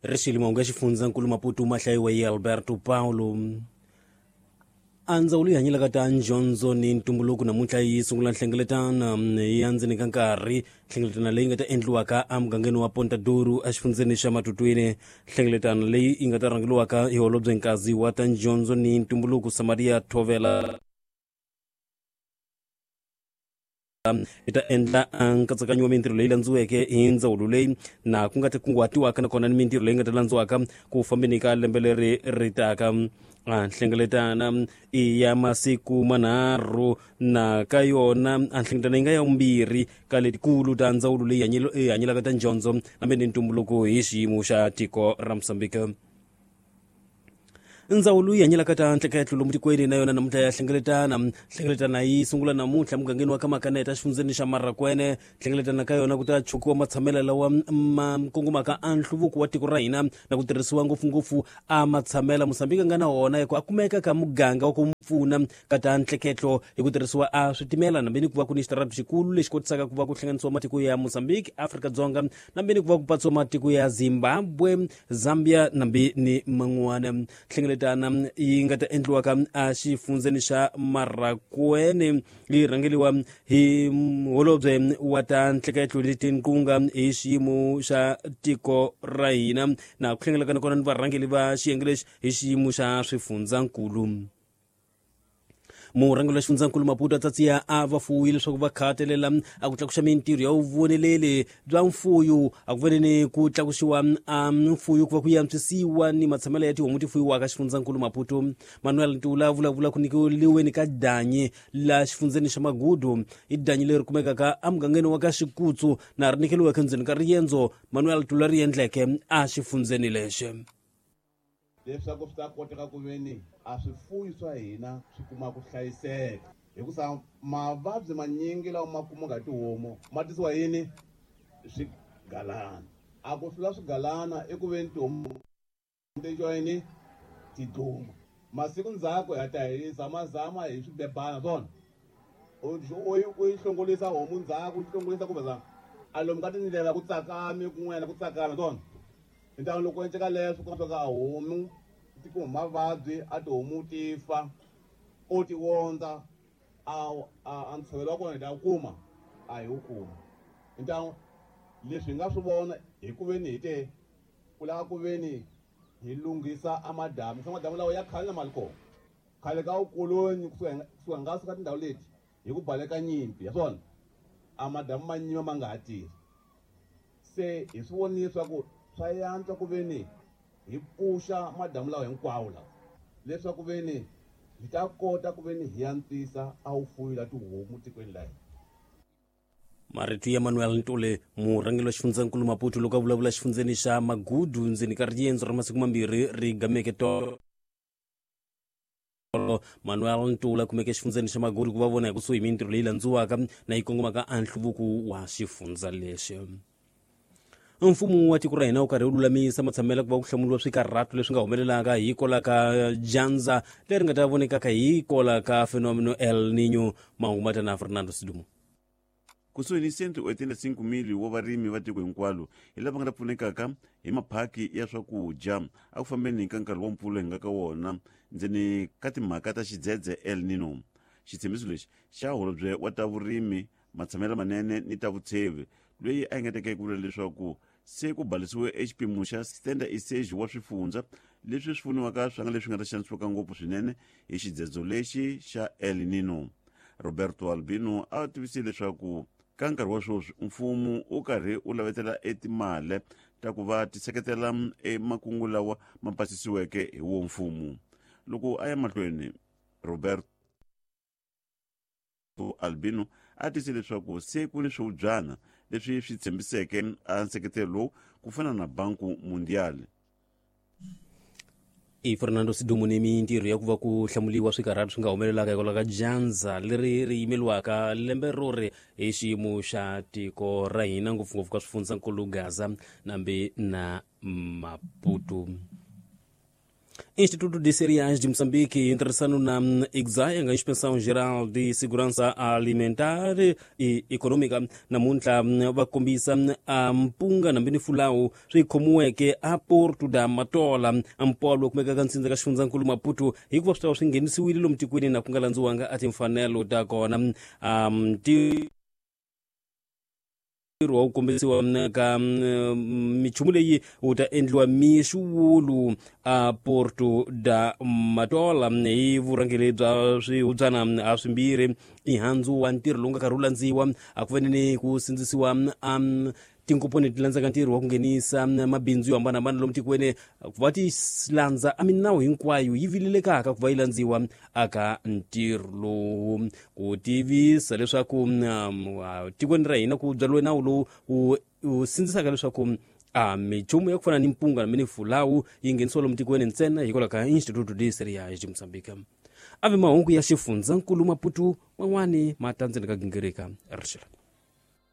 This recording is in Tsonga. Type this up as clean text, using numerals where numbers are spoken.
Rixilima unga xifundzankulu Maputo mahlayiwa hi Alberto Paulo. A ndzawulo yi hanyelaka ta ndyondzo ni ntumbuluko namuntlha yi sungula nhlengeletano ya ndzeni ka nkarhi, nhlengeletano leyi nga ta endliwaka emugangeni wa Ponta Douro exifundzeni xa Matutwini. Nhlengeletano leyi yi nga ta rhangeriwaka hi holobye nkazi wa ta ndyondzo ni ntumbuluko Samaria Thovela yi ta endla nkatsakanyo wa mintirho leyi landziweke hi ndzawulo leyi na ku nga ta kunguhatiwaka nakona ni mintirho leyi nga ta landziwaka ku fambeni ka lembe leri ri taka. Nhlengeletana i ya masiku manharhu na ka yona a nhlengeletano yi nga ya vumbirhi ka letikulu ta ndzawulo leyi hanyelaka ta ndyondzo nambe ni ntumbuluko hi xiyimo xa tiko ra Mozambique. Ndzawulo yi hanyelaka ta ntleketlo lomu tikweni na yona namuntlha ya hlengeletana. Hlengeletana yi sungula namuntlha mugangeni wa ka Makaneta exifundzeni xa Marakwene. Hlengeletana ka yona ku ta chukiwa matshamelo lawa ma kongomaka a nhluvuko wa tiko ra hina na ku tirhisiwa ngopfungopfu a matshamela Mozambique a nga na wona hi ku a kumeka ka muganga wa ku pfuna ka ta ntleketlo hi ku tirhisiwa a switimela nambe ni ku va ku ni xitarata xikulu lexi kotisaka ku va ku hlanganisiwa matiko ya Mozambique, Afrika-Dzonga nambe ni ku va ku patsiwa matiko ya Zimbabwe, Zambia nambe ni man'wana. Nhlengeletana yi nga ta endliwaka exifundzeni xa Marakwene yi rhangeriwa hi holobye wa ta ntleketlo ni tinqunga hi xiyimo xa tiko ra hina na ku hlengelekana kona ni varhangeri va xiyenge lexi hi xiyimo xa swifundzankulu. Murhangeri wa xifundzankulu Maputo a tsatsiya a va fuwi leswaku va khatelela a ku tlakuxa mintirho ya vuvoneleli bya mfuyo a ku veneni ku tlakuxiwa a mfuyo ku va ku yantswisiwa ni matshamelo ya tihomu ti fuyiwaka xifundzankulu Maputo. Manuel Ntula vulavula ku nyikiweni ka danyi la xifundzeni xa Magudu, i danyi leri kumekaka emugangeni wa ka Xikutsu na ri nyikeliweke ndzeni ka riendzo Manuel Ntula ri endleke a xifundzeni lexi. Leswaku swi ta koteka ku ve ni a swifuyi swa hina swi kuma ku hlayiseka, hikusa mavabyi manyingi lawa ma kumaka hi tihomu ma tisiwa yini? Swigalana. A ku hlula swigalana i ku ve ni tihomu ti yini? Ti dluma. Masiku ndzhaku hi ta hi zamazama hi swibebana swona, u yi hlongolisa homu ndzhaku, u yi hlongolisa kumbe a lomu ka tindlela ku tsakame kun'wana ku tsakama swona. Hi loko endleka leswo ku ka homu ti kuma mavabyi a tihomu ti fa o ti wondza a ntshovelo wa kona hi ta wu kuma a hi wu kuma. Hi leswi hi nga swi vona hi ku veni hi te ku lava ku veni hi lunghisa a madamu, se madamu lawa ya khale na mali kona khale ka vukoloni kusuka nga suka tindhawu leti hi ku baleka nyimpi ya swona a madamu ma nyima ma nga ha tirhi. Se hi swi vonile leswaku swa yantswa ku veni hi pfuxa madamu lawa hinkwawo lawa leswaku veni hi ta kota ku veni hi antswisa a wu fuyi la tihomu tikweni la hina. Marito ya Manuel Ntule, murhangeri wa xifundzankulu Maputo, loko a vulavula xifundzeni xa Magudu ndzeni ka riendzo ra masiku mambirhi ri gameke tolo. Manuel Ntula kumeke xifundzeni xa Magudu ku va vona hi kusuhi mintirho leyi landziwaka na yi kongomaka a nhluvuko wa xifundza lexi. Mfumo wa tiko ra hina wu karhi wu lulamisa matshamelo ku va ku hlamuriwa swikarhato leswi nga humelelaka hi kola ka dyandza leri nga ta vonekaka hi kola ka fenomeno El Nino. Mahungu ma ta na Fernando Sidumo. Kusuhi ni 185,000 wa varimi va tiko hinkwalo hi lava nga ta pfunekaka hi maphaki ya swakudya a ku fambeni ka nkarhi wa mpfula hi nga ka wona ndzeni ka timhaka ta xidzedze El Nino. Xitshembiso lexi xa holobye wa ta vurimi, matshamelo manene ni ta vutshevi, loyi a engeteke ku vula leswaku se ku balisiwe exipimo xa stenda iseji wa swifundza leswi swi pfuniwaka swa nga leswi nga ta xanisiwaka ngopfu swinene hi xidzedzo lexi xa El Nino. Roberto Albino a tivisile leswaku ka nkarhi wa sweswi mfumo wu karhi wu lavetela etimale ta ku va ti seketela emakungu lawa ma pasisiweke hi wo mfumo. Loko a ya mahlweni, Roberto Albino a tise leswaku se ku ni swihubyana leswi swi tshembiseke a nseketelo lowu ku fana na Banku Mundial. I Fernando Sidumo ni mintirho ya ku va ku hlamuliwa swikarhati swi nga humelelaka hikwalaho ka dyandza leri ri yimeliwaka lembe ro ri hi xiyimo xa tiko ra hina, ngopfungopfu ka swifundzankulu Gaza nambi na Maputo. Instituto de Cereais de Moçambique, em ntirhisano na IGSA, nga Inspeção Geral de Segurança Alimentar e Econômica, namuntlha va kombisa a mpunga na mbini fulawu swi khomiweke a Porto da Matola, mpolo kumekaka ntsindza ka xifundzankulu Maputo, hikuva swi ta va swi nghenisiwile lomu tikweni na ku nga landziwanga a timfanelo ta kona. Ntirho wa ku kombisiwa ka minchumu leyi wu ta endliwa mixuwulu a Porto da Matola hi vurhangeri bya swihubyana a swimbirhi. I handzu wa ntirho lowu nga karhi wu landziwa a ku veneni ku sindzisiwa a tinkomponi ti landzaka ntirho wa ku nghenisa mabindzu yo hambanahambana lomu tikweni ku va ti landza a minawu hinkwayo yi vilelekaka ku va yi landziwa aka ntirho lowu, ku tivisa leswaku tikweni ra hina ku byariwe nawu lowu wu sindzisaka leswaku a minchumu ya ku fana ni mpunga na fulawu yi nghenisiwa lomu tikweni ntsena hikwalaho ka Instituto de Cereais de Moçambique. Ave mahungu ya xifundzankulu Maputo man'wani ma ta ndzeni ka gingirika rixela.